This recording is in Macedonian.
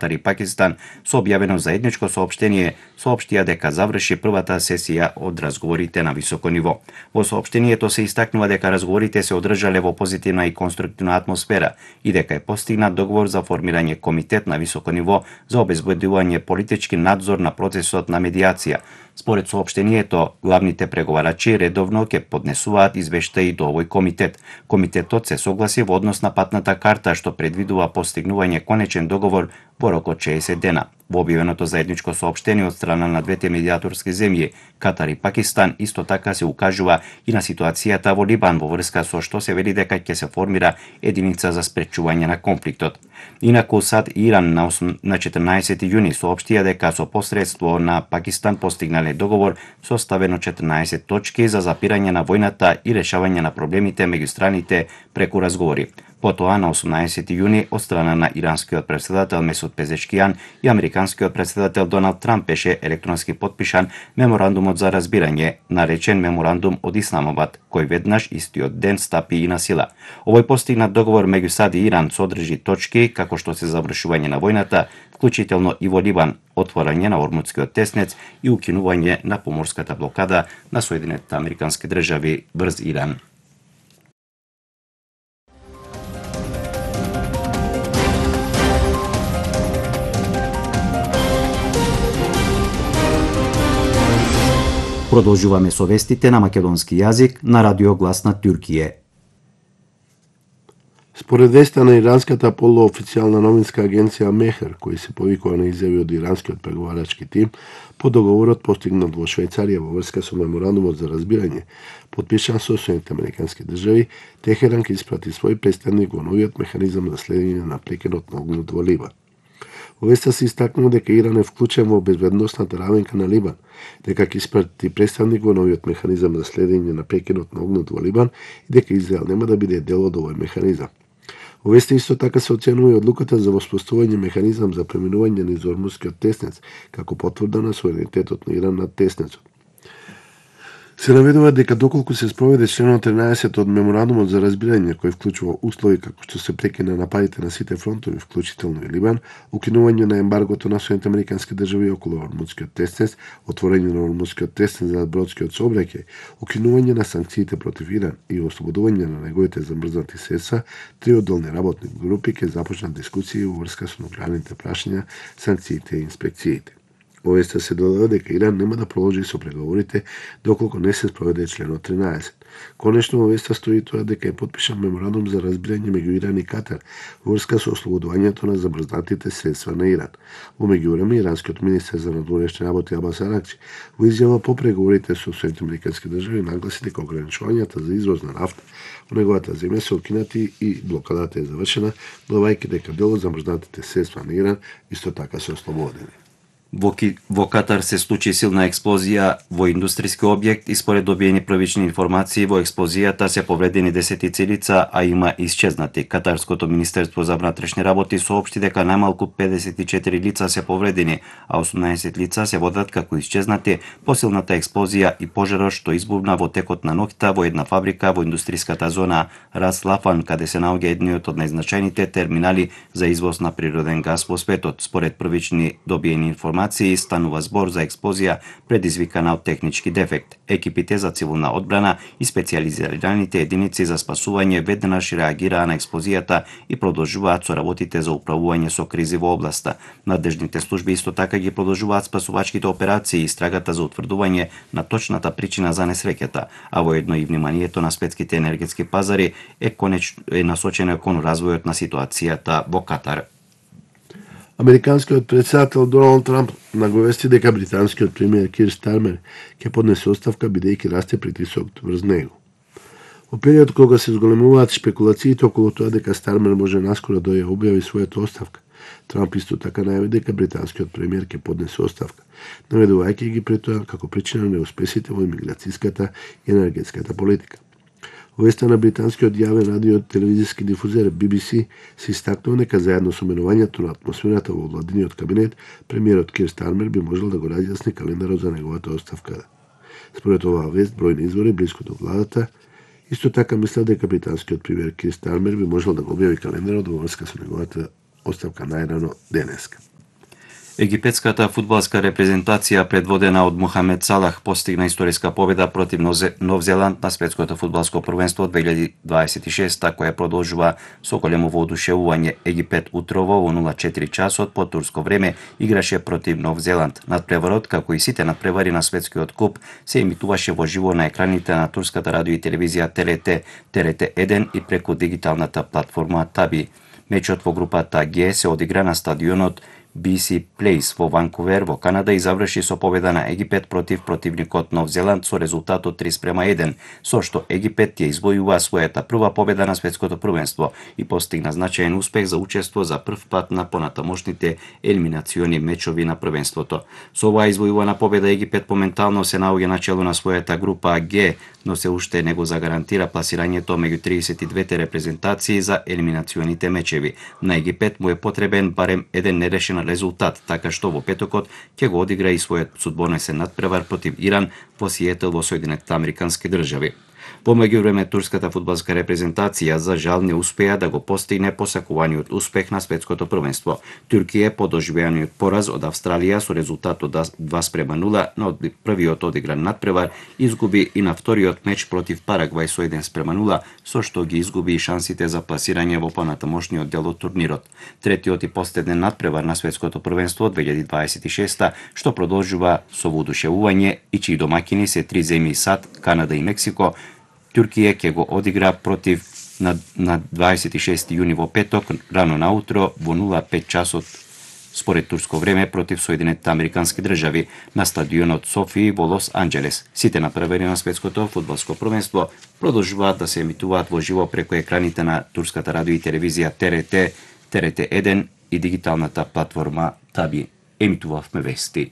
Катар и Пакистан со објавено заедничко соопштение соопштија дека заврши првата сесија од разговорите на високо ниво. Во соопштението се истакнува дека разговорите се одржале во позитивна и конструктивна атмосфера и дека е постигнат договор за формирање комитет на високо ниво за обезбедување политички надзор на процесот на медијација. Според соопштението, главните преговарачи редовно ќе поднесуваат извештаи до овој комитет. Комитетот се согласи во однос на патната карта што предвидува постигнување конечен договор во рок од 60 дена. Во објавеното заедничко соопштение од страна на двете медијаторски земји, Катар и Пакистан, исто така се укажува и на ситуацијата во Либан во врска со што се вели дека ќе се формира единица за спречување на конфликтот. Инаку САД и Иран на 14 јуни соопштија дека со посредство на Пакистан постигнале договор составено 14 точки за запирање на војната и решавање на проблемите меѓу страните преку разговори. Потоа на 18 јуни од страна на иранскиот претседател Месуд Пезешкијан и американскиот претседател Доналд Трамп беше електронски потпишан меморандумот за разбирање, наречен меморандум од Исламабад, кој веднаш истиот ден стапи и на сила. Овој постигнат договор меѓу САД и Иран содржи точки како што се завршување на војната, вклучително и во Либан, отворање на Ормудскиот теснец и укинување на поморската блокада на Соединетите Американски држави врз Иран. Продолжуваме со вестите на македонски јазик на Радио Глас на Туркије. Според веста на иранската полуофицијална новинска агенција Мехер, кој се повикува на изјави од иранскиот преговарачки тим, по договорот постигнат во Швајцарија во врска со меморандумот за разбирање, потпишан со Соединетите Американски држави, Техеран ќе испрати свој представник во новиот механизам за следење на прекинот на огнот во Либан. Во веста се истакнува дека Иран е вклучен во безбедносната равенка на Либан, дека ќе испрати представник во новиот механизам за следење на прекинот на огнот во Либан и дека Израел нема да биде дел од овој механизам. Во веста исто така се оценува и одлуката за воспоставување механизам за преминување низ Ормудскиот теснец, како потврда на суверенитетот на Иран над теснецот. Се наведува дека доколку се спроведе членот 13 од меморандумот за разбирање, кој вклучува услови како што се прекина нападите на сите фронтови, вклучително и Либан, укинување на ембаргото на Соединетите Американски држави околу Ормудскиот теснец, отворање на Ормудскиот теснец за бродскиот сообраќај, укинување на санкциите против Иран и ослободување на неговите замрзнати средства, три одделни работни групи ќе започнат дискусии во врска со нуклеарните прашања, санкциите и инспекциите. Во веста се додава дека Иран нема да продолжи со преговорите доколку не се спроведе членот 13. Конечно во веста стои тоа дека е потпишан меморандум за разбирање меѓу Иран и Катар во врска со ослободувањето на замрзнатите средства на Иран. Во меѓувреме иранскиот министер за надворешни работи Абас Аракчи во изјава по преговорите со Соединетите Американски држави нагласи дека ограничувањата за извоз на нафта во неговата земја се укинати и блокадата е завршена, додавајќи дека дел од замрзнатите средства на Иран исто така се ослободени. Во Катар се случи силна експлозија во индустријски објект и според добиени првични информации во експлозијата се повредени десетици лица, а има исчезнати. Катарското министерство за внатрешни работи соопшти дека најмалку 54 лица се повредени, а 18 лица се водат како исчезнати по силната експлозија и пожарот што избувна во текот на ноќта во една фабрика во индустријската зона Рас Лафан, каде се наоѓа едниот од најзначајните терминали за извоз на природен газ во светот. Според првични добиени информации станува збор за експлозија предизвикана од технички дефект. Екипите за цивилна одбрана и специјализираните единици за спасување веднаш реагираа на експлозијата и продолжуваат со работите за управување со кризи во областа. Надежните служби исто така ги продолжуваат спасувачките операции и истрагата за утврдување на точната причина за несреќата, а воедно и вниманието на светските енергетски пазари е насочено кон развојот на ситуацијата во Катар. Американскиот претседател Доналд Трамп наговести дека британскиот премиер Кир Стармер ќе поднесе оставка бидејќи расте притисокот врз него. Во период кога се зголемуваат шпекулациите околу тоа дека Стармер може наскоро да ја објави својата оставка, Трамп исто така најави дека британскиот премиер ќе поднесе оставка, наведувајќи ги пред тоа како причина на неуспесите во имиграцијската и енергетската политика. Во веста на британскиот јавен радио телевизиски дифузер BBC се истакнува дека заедно со менувањето на атмосферата во владиниот кабинет, премиерот Кир Стармер би можел да го разјасни календарот за неговата оставка. Според оваа вест, бројни извори блиску до владата исто така мислат дека британскиот премиер Кир Стармер би можел да го објави календарот во врска со неговата оставка најрано денеска. Египетската фудбалска репрезентација предводена од Мохамед Салах постигна историска победа против Нов Зеланд на светското фудбалско првенство 2026, која продолжува со големо воодушевување. Египет утрово во 04 часот по турско време играше против Нов Зеланд. Надпреварот, како и сите надпревари на светскиот куп, се емитуваше во живо на екраните на турската радио и телевизија ТРТ, ТРТ1 и преку дигиталната платформа Таби. Мечот во групата Г се одигра на стадионот BC Place во Ванкувер во Канада и заврши со победа на Египет против противникот Нов Зеланд со резултатот 3:1, со што Египет ја извојува својата прва победа на светското првенство и постигна значаен успех за учество за прв пат на понатамошните елиминациони мечови на првенството. Со оваа извојувана победа Египет моментално се наоѓа на чело на својата група Г, но се уште не го загарантира пласирањето меѓу 32 репрезентации за елиминационите мечеви. На Египет му е потребен барем еден нерешен резултат, така што во петокот ќе го одигра и својот судбонесен надпревар против Иран во Сиетл во Соединетите Американски држави. Во меѓувреме турската фудбалска репрезентација за жал не успеа да го постигне посакуваниот успех на светското првенство. Туркија по доживеаниот пораз од Австралија со резултат од 2:0 на првиот одигран надпревар изгуби и на вториот меч против Парагвај со 1:0, со што ги изгуби и шансите за пласирање во понатамошниот дел од турнирот. Третиот и последен надпревар на светското првенство 2026, што продолжува со воодушевување и чии домаќини се три земји САД, Канада и Мексико, Туркија ќе го одигра против на 26 јуни во петок, рано наутро во 05 часот според турско време против Соединетите Американски држави на стадионот Софии во Лос Анџелес. Сите надпревари на светското фудбалско првенство продолжуваат да се емитуваат во живо преку екраните на турската радио и телевизија ТРТ, ТРТ1 и дигиталната платформа Таби. Емитувавме вести.